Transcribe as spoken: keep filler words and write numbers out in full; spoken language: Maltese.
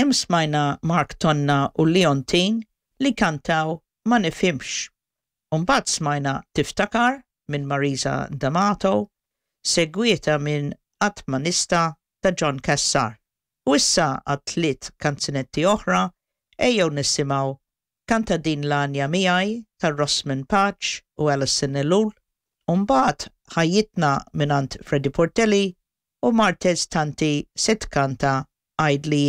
Hemm smajna Mark Tonna u Leontine li kantaw Ma Nifhimx. Umbagħad smajna Tiftakar minn Marisa D'Amato, segwita minn Qatt Ma Nista' ta' John Cassar. U issa għal tliet kanzunetti oħra ejjew nisimgħu Kanta Din l-Għanja Miegħi ta' Rosman Pace u Alison Ellul, u mbagħad Ħajjitna mingħand Freddie Portelli u Martez Tanti se tkanta Għidli.